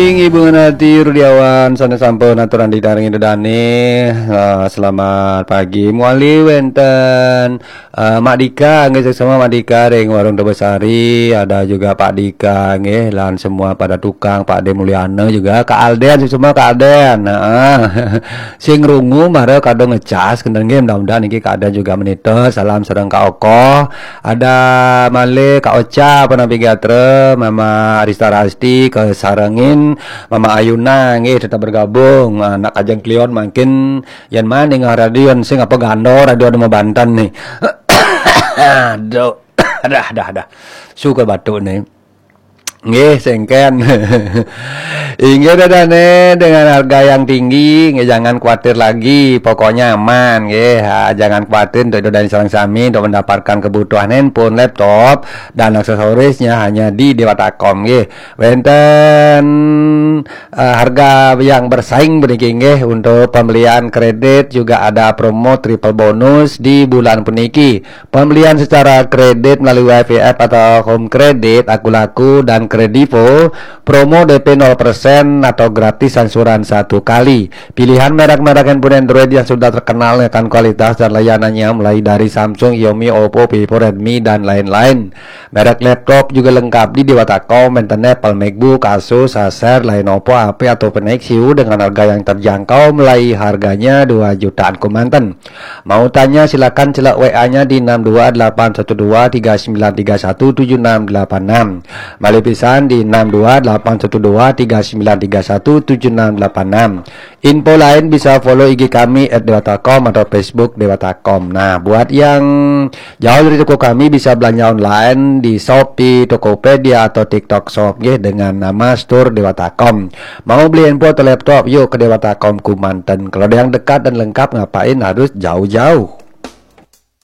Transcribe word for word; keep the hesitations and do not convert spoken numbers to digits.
Inggih, Ibu Ngenati Rudiawan, sané sampun aturang ditaringi dedane. Ah, selamat pagi. Muali wenten, ah, Mak Dika, nggih, suksma Mak Dika ring Warung Tebesari, ada juga Pak Dika, nggih, lan semua pada tukang, Pak De Mulyana juga, Kak Alden, suksma Kak Alden. Heeh. Sing rungu mara kado ngecas, kenten nggih, mudah-mudahan niki Kak Alden juga menita. Salam sareng Kak Okoh. Ada malih Kak Ocha, Panampi Gatra, Mama Arista Rasti, kasarengin Mama Ayuna nggih tetap bergabung. Ah, nak Kajeng Kliwon mangkin yen man ningeh radio sing apa gando radio Demo Banten nih. Aduh. Dah, dah, dah. Suka batuk nih. Nggih, sengken. Inggih, dedane dengan harga yang tinggi, nggih, jangan khawatir lagi, pokoknya aman, nggih. Ha, jangan khawatir untuk dedane sareng sami untuk mendapatkan kebutuhan handphone, laptop, dan aksesorisnya hanya di Dewata Com, nggih. Wenten, eh, harga yang bersaing puniki, nggih, untuk pembelian kredit juga ada promo triple bonus di bulan puniki. Pembelian secara kredit melalui Y V F atau Home Credit, Akulaku, dan Kredivo, promo D P nol persen atau gratis angsuran satu kali. Pilihan merek-merek handphone Android yang sudah terkenal akan kualitas dan layanannya, mulai dari Samsung, Xiaomi, Oppo, Vivo, Redmi, dan lain-lain. Merek laptop juga lengkap di Dewata Com, wenten Apple MacBook, Asus, Acer, Lenovo, H P, atau Nexus dengan harga yang terjangkau, mulai harganya dua jutaan kemanten. Mau tanya, silakan celak W A-nya di enam dua delapan satu dua tiga sembilan tiga satu tujuh enam delapan enam. Malih pisan di enam dua delapan satu dua tiga sembilan tiga satu tujuh enam delapan enam. Info lain bisa follow I G kami at dewata com atau Facebook Dewata Com. Nah, buat yang jauh dari toko kami bisa belanja online di Shopee, Tokopedia, atau TikTok Shop, nggih, dengan nama Store Dewata Com. Mau beli handphone atau laptop, yuk ke Dewata Com kemanten. Kalau ada yang dekat dan lengkap, ngapain harus jauh-jauh?